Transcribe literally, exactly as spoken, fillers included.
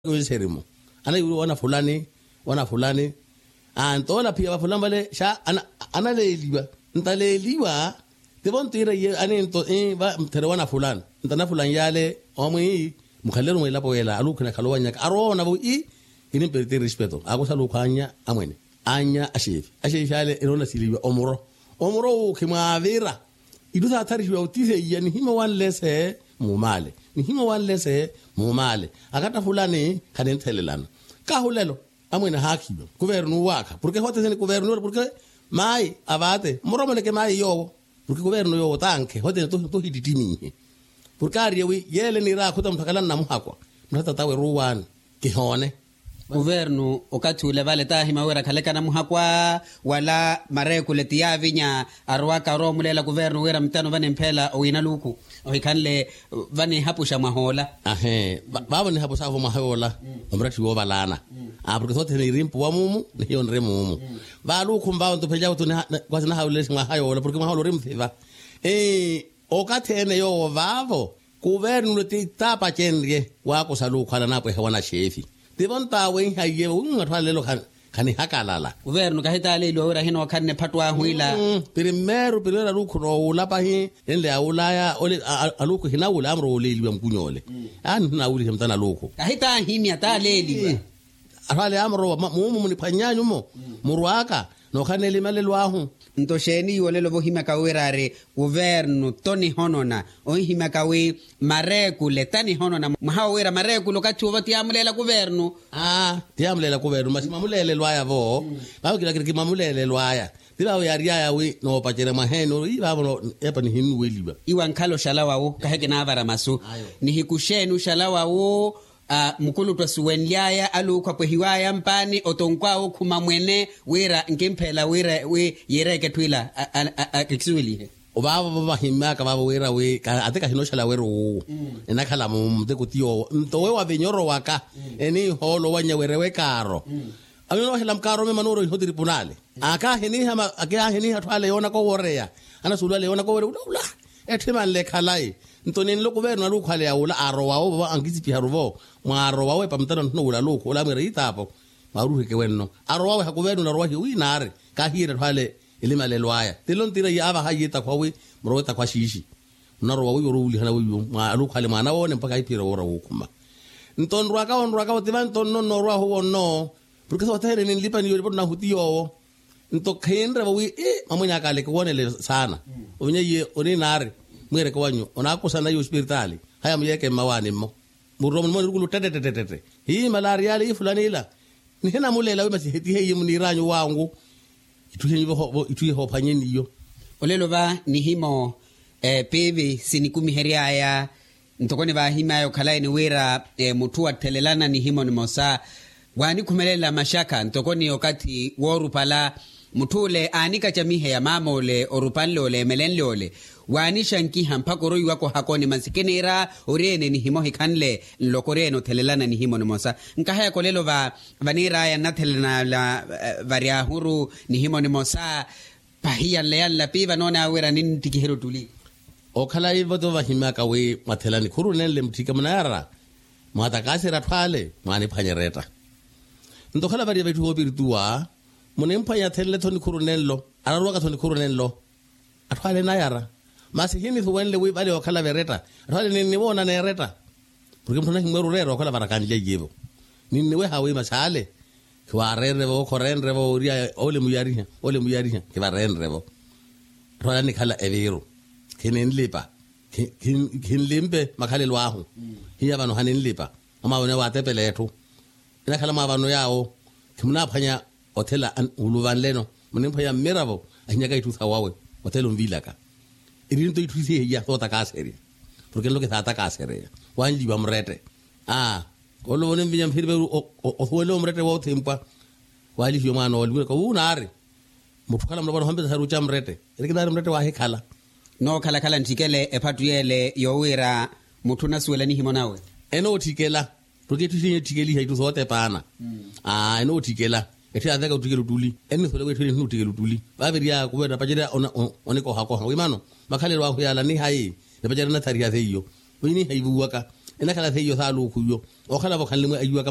Wiserimu, anaiwiriwa wana fulani, wana fulani. Aa nto ola phiya vafulani vale xa analeeliwa. Nta aleeliwa? Tivo ntiira iye aninto ii va mthere wana fulani. Nta na fulani yale omwi ii, mukhaleleru mwa elapo yela aluukhu enakhala owannyaka arowa oona vo ii, kinimperteri respeto akusa aluukhu annya amwene, annya axeefi axeefi ale enoona sileiwa omuro. Omuro uu khimwaavira. Itthu saatharixiwa otiseiya nihima owanlese, muumale nihima owanlese, muumale. Akatta fulani khaninthelelana. Kahu lelo amwene ahaakhiwa kuvernu waakha porke hothene kuvernu yoola porke mayi avaate mmoromoleke mayi yoowo. Porke kuvernu yoowo tankhe hothene tohittiminhe. Porke aariye wi yeele niira akhuta mutthu akhala nnamuhakwa, mutthu atatawe ruuwaani. Kihoone. Kuvernu okathi ule vale taahima wira akhaleke anamuhakwa. Wala mareekule ti yaavinya arowaka aroomuleela kuvernu wira mutano vanimpheela owiina luuku ohikhanle vanihapuxa mwahoola. Ahee. Vaavo nihapuxavo mwahoola. Omuratthi woovalaana. Aa porke sothene irimpuwa muumu nihiyo nri muumu. Vaaluukhu mvaavo nto phenlyavo tu kwasi nahawuleleshe mwahayoola porke mwahoola ori muthiva. Okathi ene yoowo vaavo kuvernu ti taapacenrye waakusa aluukhu ale anapwehe wanaxeefi. Tivo ntaawenhaiye vo wimu atthu ale lelo khanihakalala. Kuvernu kahitaaleeliwa wira ahinookhanne phattu ahu ila. Primeiro primeiro aluukhu noowula pahi enle awulaya ole aluukhu ehinawula amuro wooleeliwa mukuny'ole. Aani ehinawulihe mutana aluukhu kahitaahimya taaleeliwa. Atthu ale amurowa muumu muniphwanny'anyu-mo murw'aka nookhala n'elimalelo ahu. Nto xeeni iwo olelo vohimyaka wira ari kuvernu tonihonona? Onhimyaka wi mareekule tanihonona mwaha wo wira mareekule okathi owo ti yaamuleela kuvernu. Aa ti yaamuleela kuvernu masi mwamuleelelwaya-vo. Vaavo kila kiri kimwamuleelelwaya. Ti vaavo yaary'aya wi noopacerya mwaheeni ori vaavo epa nihinnuweliwa. Iwo ankhala oxala wawu kahi kinaavara masu. Nihiku xeeni oxala wawu? Mukuluttu asuwenly'aya aluukhu apwehiw'aya mpaani otonkw'awe okhuma mwene wira nkimpheela wira wi yiireeke etthu ila akisuwelihe. Vaavo vahimmy'aka vaavo wira wi ati kahinooxala wira owu enakhala muteko ti yoowo nto we wavinya orowaka eniihoolo owannya wira ewe kaaro. Avinyo noohela mukaaro mema nuuro iho tiripunaali. Akaahiniha atthu ale yoonaka oworeya anasuwelo ale yoonaka oworeya ula ula. Etthu emanle ekhalayi. Nto ninlo kuvernu aluukhu ale yawula aarowa owo ankisipiharu-vo mwaarowa owo epamutano nthuna wula aluukhu ole amwiira itaapo. Mwaaruheke wenno arowa weha kuvernu narowa hiyo wi naari kaahiyerya atthu ale elimalelo aya tinlo ntiira iye aavaha iye etakhwa wi murowe etakhwa xiixi. Munarowa wiiwo oruwulihana wiiwo mwa aluukhu ale mwaana woone mpakha ahiphiyerya woora wookhuma. Nto nrwaka wo nrwaka wo ti vanto nno nnoorwahu wo nno. Porke sothene ninlipa niyo nipotto nahu ti yoowo. Nto khinre-vo wi ii mwamwin'aka ale kiwoonele saana. Ovinya iye oninaari mwiireke wanyu onaakusana iye ospiritaali haya muyeeke mmawaani-mmo. Mururo munimo nirukulu ttettettettette hii malaari yaale ii fulani ila. Nihinamuleela wi masi hetihe iye muniir'anyu wangu. Itthu ihenyu itthu ihoophwanyeni iyo. Olelo va nihimo piivi sinikumihery'aya ntoko nivaahimy'aya okhalayeni wira mutthu wattelelana nihimo nimosa. Waanikhumelela maxakha ntoko ni okathi woorupala mutthu ole aanikacamiheya maama ole orupanle ole emelenle ole. Waanixankiha mpakha oroiwaka ohakoni masi kiniira ori ene nihimo hikhanle nloko ori ene othelelana nihimo nimosa. Nkahayaka olelo va vaniir'aya nnathelanala vari ahuru nihimo nimosa. Pahiya nleya nlapi vanoon'awe wira ninttikiherya ottuli. Okhala ivo tivo vahimy'aka wi mwathela nikhuru nenle mutthike munayara. Mwatakaserya atthu ale mwaaniphwanya eretta. Nto okhala variya vitthu voopirituwa munimphwanya athenle-tho nikhuru nenlo. Araruwaka-tho nikhuru nenlo. Atthu ale enayara. Masi hiinisuwenle wi vale yookhala veretta. Atthu ale ninniwoona neeretta. Porke mutthu anahimweera oreera okhala varakanlya iye-vo. Ninniweha wi masi ale khiwaarenre-vo khoreenre-vo ory'aya ole muyariha ole muyariha khivareenre-vo. Atthu ale annikhala eviiru. Khininlipa. Khinlimpe makhalelo ahu. Hiya vano haninlipa. Amwaavano yaawo aatepela etthu. Enakhala mwaavano yaawo. Khimunaaphwanya othela wuluvanleno. Munimphwanya mmiravo ahinyaka itthu sawawe. Othela onvilaka. Eri nto itthu isihiya sootakaserya. Porke nlo kisaatakasereya. Wanliwa murette. Aa olelo voninvinya mphiri veru osuwenle omurette woothimpwa. Waalihiwa omwaana oole wiraka wu naari. Mutthu okhala mulopa nohompesa saruca murette. Eri kinaari murette waahikhala. Nookhalakhala ntthikele ephattu yeele yoowiira mutthu onasuwela nihimo nawe. Enootthikela. Porke etthu isihiya etthikeliha itthu sootepaana. Aa enootthikela. Etthu yaaveka otthikela ottuli ennisole wi etthu ene ehinotthikela ottuli. Vaaviriya kuveera napacerya onikohakoha wi mano makhalelo ahu yaala nihayi. Napacerya nathariha seiyo. Wi nihayi vuwaka. enakhala seiyo saaluukhu iyo. Okhala-vo khanlimwa ayiwaka